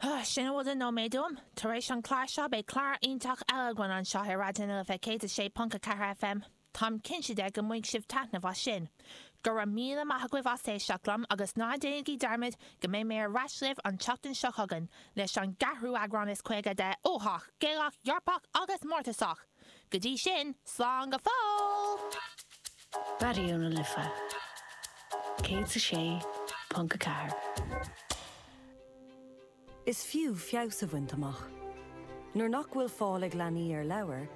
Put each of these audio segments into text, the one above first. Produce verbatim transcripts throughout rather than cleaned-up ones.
Sin a bhfuil de nóiméad uaim. Tar éis an clár seo beidh clár iontach eile againn anseo ar Raidió na Life céad a sé ponc a ceathair FM. Táim cinnte de go mbainfidh sibh taitneamh as sin. Go raibh míle maith agaibh as éisteacht liom agus ná déanaigí dearmad go mbeidh mé ar ais libh an tseachtain seo chugainn leis an gceathrú eagrán is caoga de Uathach, Gaelach, Eorpach agus Mórtasach. Go dtí sin, slán go fóill! Raidió na Life céad a sé ponc a ceathair. Is fiú feabhas a bhaint amach. Nuair nach bhfuil fáil ag leanaí ar leabhair,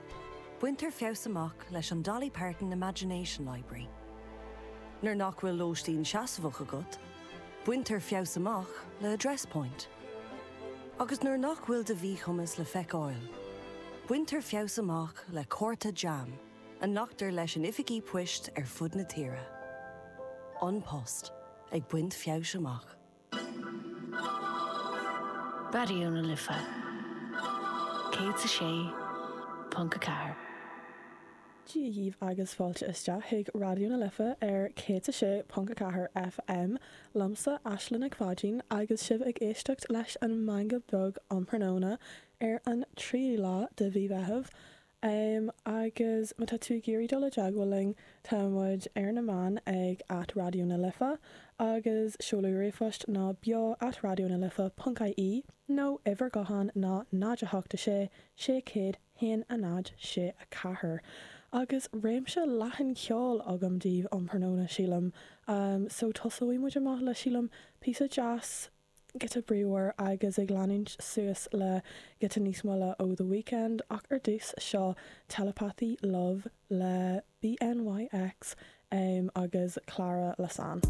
baintear feabhas amach leis an Dolly Parton Imagination Library. Nuair nach bhfuil lóistín seasmhach agat, baintear feabhas amach le Address Point. Agus nuair nach bhfuil do mhíchumas le feiceáil, baintear feabhas amach le cárta JAM a nglactar leis in oifigí poist ar fud na tíre. An Post ag baint feabhais amach. Raidió na Life céad a sé ponc a ceathair. Dia dhaoibh agus fáilte isteach chuig Raidió na Life ar céad a sé ponc a ceathair FM liomsa Aislinn Nic Pháidín agus sibh ag éisteacht leis an Meangadh Beag um thráthnóna ar an tríú lá de mhí Mheithimh. Um, agus má tá tú ag iarraidh dul i dteagmháil linn tá muid ar na meáin ag at Raidió na Life agus seoladh ríomhphoist ná beo at raidió na life ponc ie nó uimhir gutháin ná náid a hocht a sé sé céad haon a náid sé a ceathair. Agus réimse leathan ceoil agam daoibh um thráthnóna sílim. Um, so tosóidh muid amach le sílim píosa deas giota bríomhar agus ag leanúint suas le giota níos moille ó The Weeknd ach ar dtús seo Telepathy Love le BNYX um, agus Clara Lasan.